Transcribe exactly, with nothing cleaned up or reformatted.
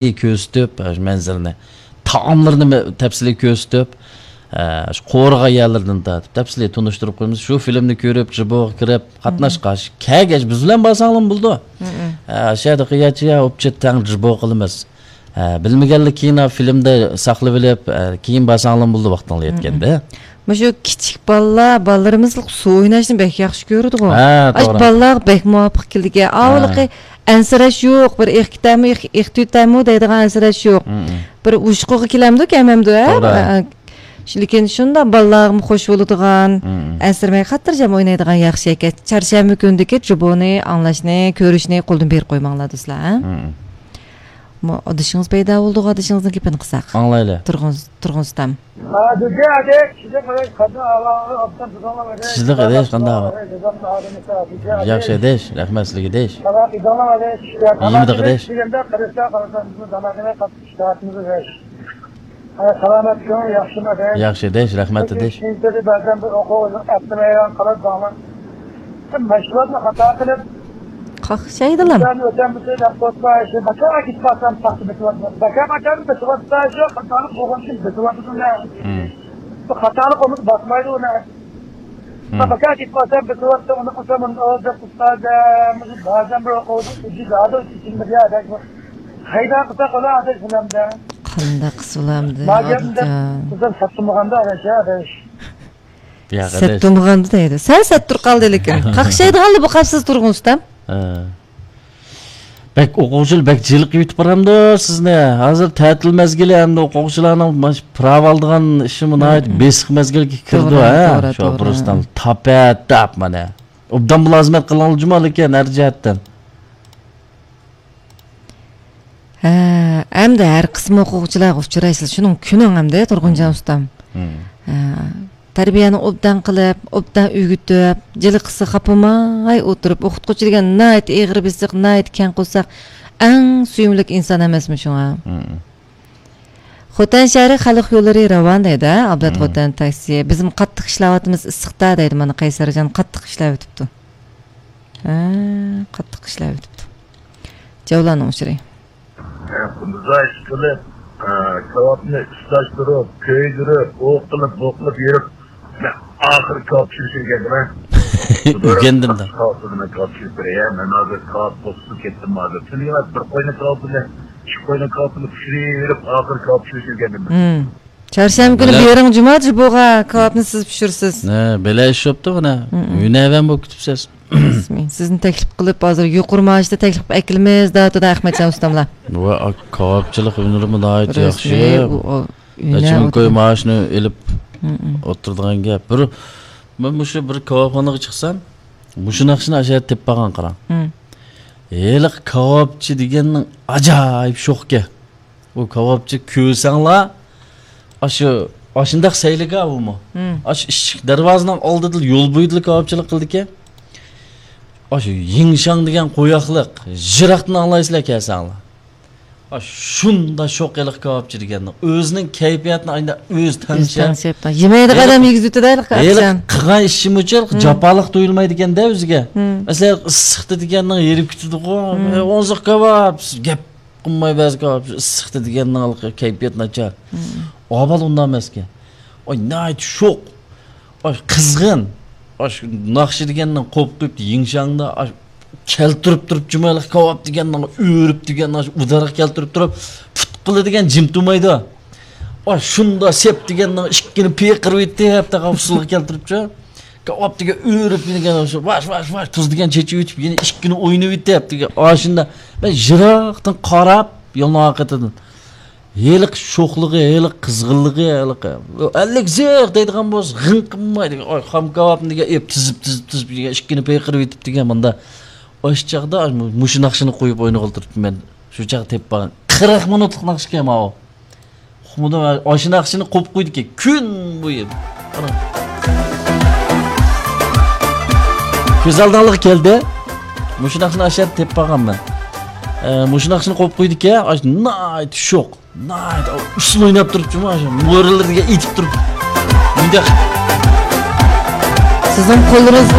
تەپسىلىي كۆرسىتىپ، ئاشۇ مەنزىلنى، تائاملىرىنى مە-، تەپسىلىي كۆرسىتىپ، ئە، شۇ قورۇغان يەرلىرىدىن تارتىپ تەپسىلىي تونۇشتۇرۇپ قويىمىز. شۇ فىلىمنى كۆرۈپ، جىبوغا كىرىپ، قاتناشقاچ، كەلگەچ بىز بىلەن بارساڭلارمۇ بولىدۇ. ئە، شۇ يەردە قىياچ يا ئوپچە تەڭ جىبو قىلىمىز. ئە، بىلمىگەنلىك كېيىن فىلىمدا ساقلىۋېلىپ، ئە، كېيىن بارساڭلارمۇ بولىدۇ ۋاقتىڭلار يەتكەندە. مۇشۇ كىچىك بالىلار، بالىلىرىمىز سۇ ئويناشنى بەك ياخشى كۆرىدىغۇ. ھە، ئاش توغرا. بالىلارغا بەك مۇۋاپىق كېلىدىكەن. ھە. ئاۋۇلىقى ئەنسىرەش يوق، بىر ئېقىپ كېتەمۇ، ئېق-، ئېقىپ كېتەمۇ دەيدىغان ئەنسىرەش يوق. بىر ھوشقىغا كېلەمدۇ، كەلمەمدۇ، ھە؟ توغرا. ئە، ئە، لېكىن شۇنداق بالىلارغىمۇ خوش بولىدىغان، ئەنسىرىمەي خاتىرجەم ئوينايدىغان ياخشى ئەكەن. چارشەنبە كۈنىدىكى جىبونى ئاڭلاشنى، كۆرۈشنى قولدىن بېرىپ قويماڭلار، دوستلار، ھە؟ مۇ-، ئادىشىڭىز پەيدا بولدىغۇ، ئادىشىڭىزنىڭ گېپىنى قىلساق. ئاڭلايلى. تۇرغۇن، تۇرغۇن ئۇستام. ھە، دۈزى ئادەش، كىشىلىك ئادەش، قانداق ئەھۋالىڭلار، ئوبدان تۇرۇڭلار ئادەش. كىشىلىك ئادەش، قانداق ئەھۋال؟ ئادەش، ئادەش، ئادەش. ياخشى ئادەش، رەھمەت سىزگە ئادەش. ساغلام، ئىدىڭلار ئادەش. يېمىدىغ ئادەش. دېگەندە قارىسا، قارىسا، بىزمۇ زامانىمىز قاتتىق ئىشتىھاتىمىز ئادەش. ھە، سالامەت كۆڭۈل ياخشىمۇ ئادەش؟ ياخشى ئادەش، رەھمەت ئادەش. كېيىنچىلىرى بەزەن بىر ئوقۇغۇچى ئەپلىمەيدىغان قالىدۇ داڭلار. مەشغۇلاتنى خاتا قىلىپ، قاقشايدىلا. ئىنسان ئۆتەمىسى دەپ قويسا، شۇ بەكەر كېتىپ قالسام، پاختا بېسىۋاتىدۇ. بەكەر بەكەر بېسىۋاتسا، شۇ خاتالىق بولغان ئۈچۈن بېسىۋاتىدۇ. بۇ خاتالىق بولمىسا باسمايدۇ ئۇنى. بەكەر كېتىپ قالسام، بېسىۋاتىدۇ، ئۇنى قىلسام، ئۇنى ئۇستاز، بەزەن بىر ئوقۇۋچى ئۈجى دادۇ، ئىچىمدە يا دەك. قايدا قىلساق ئۇنى ئادەش بىلەمدە. قانداق قىلسا بولامدۇ، ما گەپنى دەپ، ئادەم؟ قىزىم سەت تۇرمىغاندا ئادەش، ئادەش. ياق، سەت ئاداش. تۇرمىغاندا دەيدۇ. سەل سەت تۇرۇپ قالدى لېكىن. قاقشايدىغانلا بۇ قاپسىز تۇرغۇن ئۇستام. ھە. بەك ئوقۇغۇچىلار بەك جىلىقىۋېتىپ بارامدۇ سىزنى؟ ھازىر تەتىل مەزگىلى ئەمدى ئوقۇغۇچىلارنىڭ ماش-، پىراۋا ئالىدىغان ئىشىمۇ ناھايىتى بېسىق مەزگىلگە كىرىدۇ، توغرا، ھە؟ توغرا، شۇ توغرا. بۇرۇستان تاپەت تاپ مانا. ئوبدان مۇلازىمەت قىلىڭلار جۇما لېكىن ھەر جەھەتتىن. ھە، ئەمدى ھەر قىسىم ئوقۇغۇچىلارغا ئۇچرايسىز. شۇنىڭ كۈنۈڭ ئەمدى تۇرغۇنجان ئۇستام. ھە، تەربىيەنى ئوبدان قىلىپ، ئوبدان ئۆگىتىپ، جىلىقسا خاپىماي ئولتۇرۇپ، ئوقۇتقۇچى دېگەن ناھايىتى ئېغىر بېسىق، ناھايىتى كەڭ قورساق، ئەڭ سۆيۈملۈك ئىنسان ئەمەسمۇ شۇڭا؟ خوتەن شەھىرى خەلق يوللىرى راۋان دەيدۇ، ھە؟ ئابلەت خوتەن تاكسى. بىزمۇ قاتتىق ئىشلەۋاتىمىز ئىسسىقتا دەيدۇ. مانا قەيسەرجان قاتتىق ئىشلەۋېتىپتۇ. ھە، قاتتىق ئىشلەۋېتىپتۇ. جەۋلاننىڭ ئۇچۇرى. ھە، بۇنداق ئىش قىلىپ، ھە، كاۋاپنى ئىسلاشتۇرۇپ، كۆيدۈرۈپ، ئۇ قىلىپ، بۇ قىلىپ يۈرۈپ، مەن ئاخىرى كاۋاپ پىشۇرۇش ئۆگەندىم. ئۆگەندىم دە. كاۋاپ پىشۇرۇپ بېرەي، مەن ھازىر كاۋاپ بوسۇپ كەتتىم ھازىر. تۈنۈگۈن بىر قوينى كاۋاپ بىلەن، ئىككى قوينى كاۋاپ بىلەن پىشۇرۇپ، ئاخىرى كاۋاپ پىشۇرۇش ئۆگەندىم. چارشەنبە كۈنى بېرىڭ جۇما جۇبوغا كاۋاپنى سىز پىشۇرىسىز. ھە، بەلە ئىش بوپتۇ مانا. ھۈنەرۋەن بولۇپ كېتىپسىز. رەسمىي. سىزنى تەكلىپ قىلىپ، ھازىر يۇقىرى مائاشتا تەكلىپ قىلىپ ئەكېلىمىز، دەۋاتىدۇ ئەخمەتجان ئۇستاملار. ۋە كاۋاپچىلىق ھۈنىرىمۇ ناھايىتى ياخشى. رەسمىي، ئۇ، ئۇ، ھۈنەر ئەچىنكوي ئۇ. مائاشنى ئېلىپ ئولتۇرىدىغان گەپ. بىر، مەن مۇشۇ بىر كاۋاپخانىغا چىقسام، مۇشۇ ناخشىنى ئاشۇ يەردە تېپىپ بارغان قاراڭ. ھېلىقى كاۋاپچى دېگەننىڭ ئاجايىپ شوخكەن. ئۇ كاۋاپچى كۆرسەڭلار، ئاشۇ، ئاشۇنداق سەيلىگە ئۇمۇ. ئاشۇ ئىشىك دەرۋازىنىڭ ئالدىدىلا، يول بويىدىلا كاۋاپچىلىق قىلىدىكەن. ئاشۇ يىڭشاڭ دېگەن قوياقلىق، يىراقتىن ئاڭلايسىلەر كەلسەڭلار. ئاشۇنداق شوق ھېلىقى كاۋاپچى دېگەننىڭ. ئۆزىنىڭ كەيپىياتىنى ئاينا ئۆزى ئۆزى تەڭشەپ. تەڭشەپ. يېمەيدىغان ئادەم يېگۈزۈۋېتىدۇ ھېلىقى ئاپچان. قىلغان ئىشىمۇچۇ جاپالىق تۇيۇلمايدىكەن-دە ئۆزىگە. مەسىلەن، ئىسسىقتا دېگەننىڭ ھېرىپ كېتىدىغۇ. ئە، ئوزۇق كاۋاپ، گەپ قىلماي بەزى كاۋاپ، ئىسسىقتا دېگەننىڭ ھېلىقى كەيپىياتى ناچار. ئاۋۋال ئۇنداق ئەمەسكەن. ئاي، ناھايىتى شوق. ئاش قىزغىن. ئاش ناخشا دېگەننىڭ قوپۇپ قويۇپتۇ يىڭشاڭدا. ئاش كەلتۈرۈپ تۇرۇپ جۇمالىق كاۋاپ دېگەننىڭ ئۆرۈپ دېگەن ئاش ئۇدارغا كەلتۈرۈپ تۇرۇپ پۇتقىلى دېگەن جىم تۇرمايدۇ. ئاش شۇندا سەپ دېگەننىڭ ئىككىنى پىقىرىۋېتىپ تاغا ئۇسسۇلغا كەلتۈرۈپچۇ. كاۋاپ دېگەن ئۆرۈپ دېگەن ئاش ۋاش ۋاش ۋاش تۇز دېگەن چېچىۋېتىپ يەنە ئىككىنى ئوينىۋېتىپ دېگەن ئاشۇندا مەن يىراقتىن قاراپ يولنىڭ ئارقىدىن ھېلىقى شوخلۇقى، ھېلىقى قىزغىنلىقى، ھېلىقى ئەللىك زىق دەيدىغان بولسا، غىڭ قىلماي دېگەن، ئاي، خام كاۋاپنى دېگەن، ئېپ تىزىپ، تىزىپ، تىزىپ دېگەن، ئىككىنى پىقىرىۋېتىپ دېگەن، ماندا. ئاشۇ چاغدا مۇشۇ ناخشىنى قويۇپ ئوينىغىلى تۇرۇپتۇ مەن. شۇ چاغ تېپىپ بارغان. قىرىق مىنۇتلۇق ناخشىكەن ماۋۇ. ئۇقمىدىم، ئاشۇ ناخشىنى قويۇپ قويدىكەن. كۈن بويى. قاراڭ. كۆز ئالدىڭلارغا كەلدى. مۇشۇ ناخشىنى ئاشۇ يەردە تېپىپ بارغان مەن. ئە، مۇشۇ ناخشىنى قويۇپ قويدىكەن، ئاشۇ ناھايىتى شوق. ناھايىتى ئۇسسۇل ئويناپ تۇرۇپچۇ، مانا شۇ مورىلىرىگە ئېتىپ تۇرۇپ. مۇنداق. سىزنىڭ قوللىرىڭىزغا